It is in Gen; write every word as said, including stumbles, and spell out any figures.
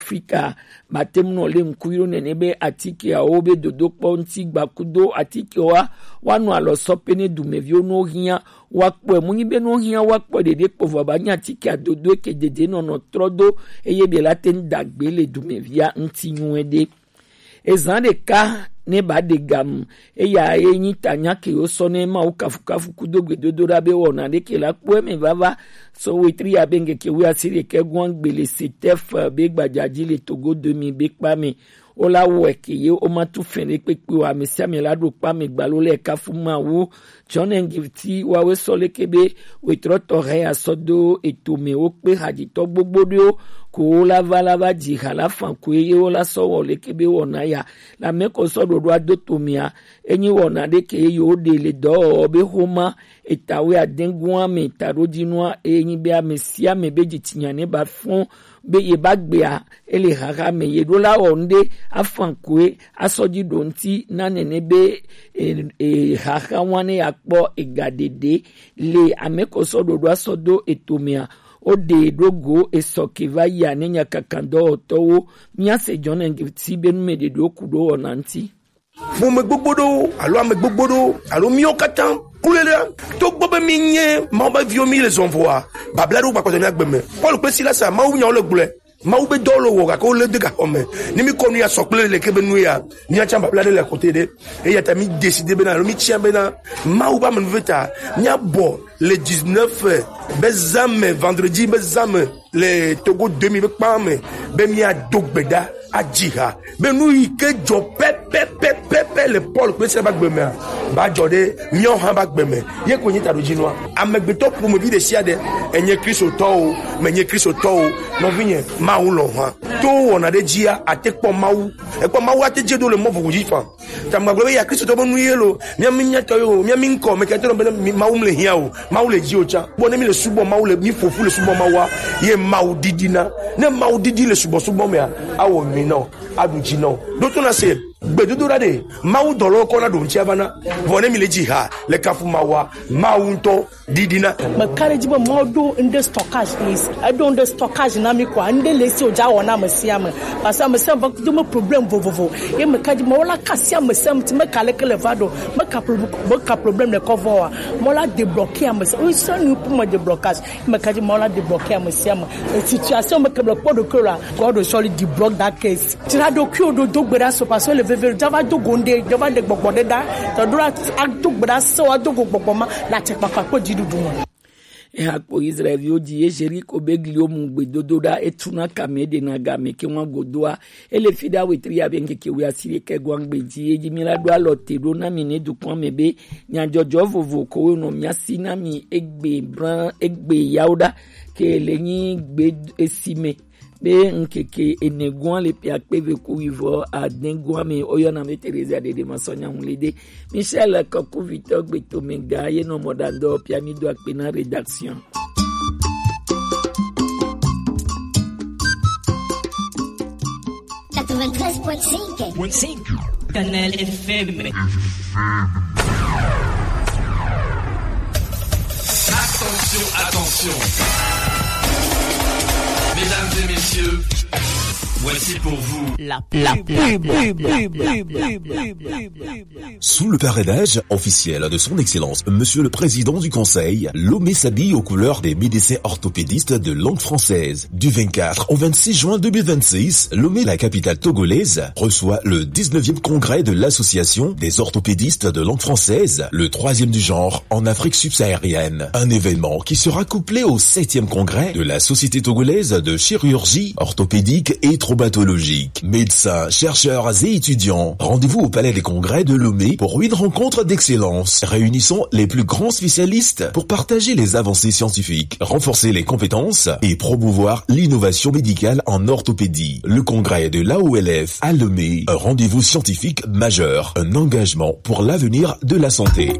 Afrika. Ba te mu nɔ le ŋku yi ɖo nɛnɛ be atikeawo be dodokpɔ ŋuti gba kudo atikewoa, woanɔ alɔ sɔ pe ne dumeviwo no hiã, woakpɔe. Mu nyi be no hiã woakpɔe ɖeɖe kpo vɔ ba nyi atikea dodo eke dede nɔnɔ trɔ do, eye be la te ŋu dagbe le dumevia ŋuti nyuie ɖe. Ezã ɖeka ne ba ɖe gamu, eya ye nyi ta nya ke wo sɔ ne Mawu kafukafu kudo gbedodoɖa be wɔna ɖe ke la kpɔ eme vava. So wetri ya be ŋkeke wi asi ɖekɛ gɔn gbele setef be gbadza dzi le Togo demi be kpa me. Wo la wɔe ke ye wo ma tu fɛn ɖe kpekpe o, ame sia ame la ɖo kpa me gbalo le kafu Mawu. John Ngifti wawe sɔ leke be wetrɔ tɔ hɛ ya sɔ do eto me wo kpe hadzitɔ gbogbo ɖewo ko wo la va la va dzi ha la fan ko ye wo la sɔ wɔ leke be wɔna ya. La me ko sɔ ɖoɖo ado to mea, enyi wɔna ɖe ke ye wo ɖe le dɔwɔwɔ be xoma eta we adengoa me taɖodzinua, enyi be ame sia ame be dzitsinya ne ba fɔn be ye ba gbea, ele xaxa me ye ɖo la wɔ ŋɖe afan koe asɔ dzi ɖo ŋti na nene be e, e, xaxa wa ne ya kpɔ ega ɖeɖe le ame ko sɔ ɖoɖo asɔ do eto mea. O ɖe ɖo go esɔ ke va yi ane nya kankan dɔwɔtɔwo mia se John Ngifti be nu me ɖeɖewo ku ɖo wɔna ŋti. Ƒome gbogbo ɖewo alo ame gbogbo ɖewo alo míawo katã kule ɖe, togbɔ be míenye Mawu ƒe viwo, míle zɔn vɔa, babla ɖewo gbakpɔtɔ mía gbe me. Paul kple Silas, Mawu nyawo le gblɔe. Mawu be dɔwo le wɔ, gake wole de gaxɔ me. Ne míkɔ nu ya sɔ kple leke be nu ya, míatsã babla ɖe le kote ɖe. Eya ta mí décidé bena alo mítia bena Mawu be amenuveve ta míabɔ le dix-neuf be zã me, vendredi be zã me, le Togo demi be kpa me, be míado gbe ɖa adzi ha be nu yi ke dzɔ pɛpɛpɛpɛpɛ le Paul kple Sila be agbe mea, ba dzɔ ɖe míawo hã be agbe me. Ye koe nye taɖodzinua. Amegbetɔ ƒomevi ɖe sia ɖe, enye Kristotɔ o, menye Kristotɔ o, nɔvinye, Mawu lɔ̃ hã. To wɔna ɖe dzia, ate kpɔ Mawu. Ekpɔ Mawu ate dze ɖo le mɔ vovo dzi faa. Ta magblɔ be ya Kristotɔ be nu ye lo, mía mi mía tɔ yo, mía mi ŋkɔ, me kɛtɛ be mi Mawu mle hiã o, Mawu le dzi o tsã. Bɔ ne mi le subɔ Mawu le, mi ƒoƒu le subɔ Mawua, ye Mawu didina. Ne Mawu didi le subɔsubɔ mea, awɔ nyui na o, aɖu dzi na o. Ɖo to na se, gbedodoɖa ɖe, Mawu dɔlɔ kɔ na ɖo ŋuti ava na. Vɔ ne mi le dzi ha, le kafu Mawua, Mawu ŋutɔ didina. Meka ɖe edzi be Mawu ɖo ŋɖe stockage is, eɖo ŋɖe stockage na mi koa, ŋɖe le esi wòdza wɔ na ame sia ame. Parce que ame sia ame va kudo me problème vovovo. Ye meka ɖe edzi Mawu la kasi ame sia ame ti meka leke le va ɖo. Meka pro-, meka problème le kɔ vɔ wa. Mawu la débloquer ame sia. Oui, c'est nous pour me déblocage. Meka ɖe edzi Mawu la débloquer ame sia ame. Et situation me ke le kpɔ ɖokui la, God will surely deblock that case. Dzra ɖokuiwò ɖo, do gbe ɖa so, parce que le veve ɖo, dza va do go ŋɖe, dza va ɖe gbɔgbɔ ɖe ɖa. Tɔ ɖo la, ado gbe ɖa se, woado go gbɔgbɔ ma, le atsɛkpakpa kple dziɖuɖu me. Eha kpo Israelviwo dzi ye Jeriko be gliwo mu gbedodoɖa, etu na kame, eɖena game ke ŋua godoa. Ele fi ɖa wetri abe ŋkeke wuiasiɖekɛ gɔ̃a gbe dzi, ye dzi mi la ɖo alɔ te ɖo na mi ne dukɔa me be nyadzɔdzɔ vovo ko wo nɔ mia si na mi egbe bla egbe yawo ɖa ke le nyi gbe esi me. Be ŋkeke ene gɔ̃a le ƒe akpe eve ku wuivɔ ade gɔ̃a me, woyɔna be Teresa Dede Masɔnya Ŋulede. Michel Kɔkuvitɔ Gbetomega ye nɔ mɔɖaŋdɔ ƒea, mi do akpe na rédaction. Quatre-vingt-treize point cinq. Kanal F M. Attention, attention. Mesdames et messieurs, voici pour vous la, la pub. Sous le parrainage officiel de son excellence, monsieur le président du conseil, Lomé s'habille aux couleurs des médecins orthopédistes de langue française. Du vingt-quatre au vingt-six juin deux mille vingt-six, Lomé, la capitale togolaise, reçoit le dix-neuvième congrès de l'association des orthopédistes de langue française, le troisième du genre en Afrique subsaharienne. Un événement qui sera couplé au septième congrès de la Société togolaise de chirurgie orthopédique et traumatologique. Médecins, chercheurs et étudiants, rendez-vous au palais des congrès de Lomé pour une rencontre d'excellence réunissant les plus grands spécialistes pour partager les avancées scientifiques, renforcer les compétences et promouvoir l'innovation médicale en orthopédie. Le congrès de l'A O L F à Lomé, un rendez-vous scientifique majeur, un engagement pour l'avenir de la santé.